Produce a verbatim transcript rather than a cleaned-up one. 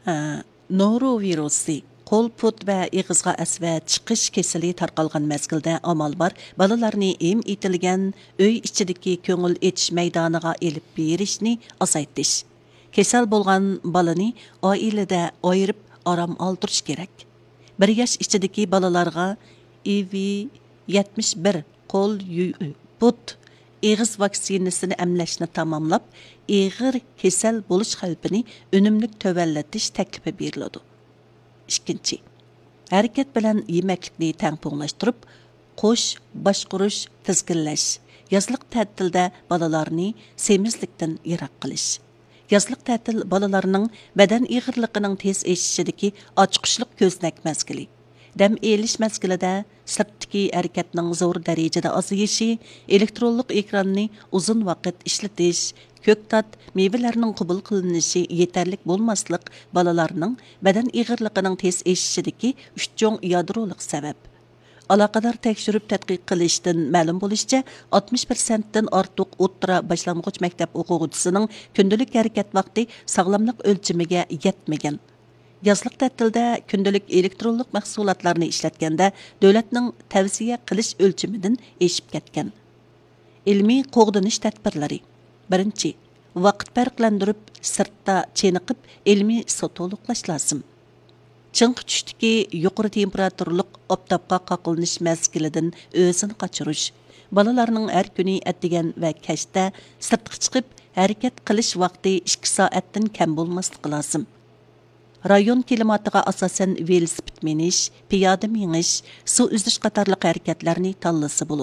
ھە، نورو ۋىرۇسى، قول، پۇت ۋە ئېغىزغا ئەسۋە چىقىش كېسىلى تارقالغان مەزگىلدە ئامال بار بالىلارنى ھىم ئېتىلگەن ئۆي ئىچىدىكى كۆڭۈل ئېچىش مەيدانىغا ئېلىپ بېرىشنى ئازايتىش. كېسەل بولغان بالىنى ئائىلىدە ئايرىپ ئارام ئالدۇرۇش كېرەك. بىر ياش ئىچىدىكى بالىلارغا ئىۋ يەتمىش بىر، قول، يۈ-، پۇت، ئېغىز ۋاكسىنىسىنى ئەملەشنى تاماملاپ، ئېغىر كېسەل بولۇش خەۋپىنى ئۈنۈملۈك تۆۋەنلىتىش تەكلىپى بېرىلىدۇ. ئىككىنچى، ھەرىكەت بىلەن يېمەكلىكنى تەڭپۇڭلاشتۇرۇپ، قوش باشقۇرۇش، تىزگىنلەش، يازلىق تەتىلدە بالىلارنى سېمىزلىكتىن يىراق قىلىش. يازلىق تەتىل بالىلارنىڭ بەدەن ئېغىرلىقىنىڭ تېز ئېشىشىدىكى ئاچقۇچلۇق كۆزنەك مەزگىلى. دەم ئېلىش مەزگىلىدە سىرتتىكى ھەرىكەتنىڭ زور دەرىجىدە ئازىيىشى، ئېلېكترونلۇق ئېكراننى ئۇزۇن ۋاقىت ئىشلىتىش، كۆكتات، مېۋىلەرنىڭ قوبۇل قىلىنىشى يېتەرلىك بولماسلىق بالىلارنىڭ بەدەن ئېغىرلىقىنىڭ تېز ئېشىشىدىكى ئۈچ چوڭ يادرولۇق سەۋەب. ئالاقىدار تەكشۈرۈپ تەتقىق قىلىشتىن مەلۇم بولۇشىچە، ئاتمىش پىرسەنتتىن ئارتۇق ئوتتۇرا باشلانغۇچ مەكتەپ ئوقۇغۇچىسىنىڭ كۈندىلىك ھەرىكەت ۋاقتى ساغلاملىق ئۆلچىمىگە يەتمىگەن. يازلىق تەتىلدە كۈندىلىك ئېلېكترونلۇق مەھسۇلاتلارنى ئىشلەتكەندە، دۆلەتنىڭ تەۋسىيە قىلىش ئۆلچىمىدىن ئېشىپ كەتكەن. ئىلمىي قوغدىنىش تەدبىرلىرى. بىرىنچى، ۋاقىت پەرقلەندۈرۈپ، سىرتتا چېنىقىپ، ئىلمىي سۇ تولۇقلاش لازىم. چىڭقى چۈشتىكى يۇقىرى تېمپېراتۇرىلىق ئاپتاپقا قاقلىنىش مەزگىلىدىن ئۆزىنى قاچۇرۇش. بالىلارنىڭ ھەر كۈنى ئەتىگەن ۋە كەچتە سىرتقا چىقىپ ھەرىكەت قىلىش ۋاقتى ئىككى سائەتتىن كەم بولماسلىقى لازىم. رايون كىلىماتىغا ئاساسەن ۋېلىسىپىت مىنىش، پىيادە مېڭىش، سۇ ئۈزۈش قاتارلىق ھەرىكەتلەرنى تاللىسا بولىدۇ.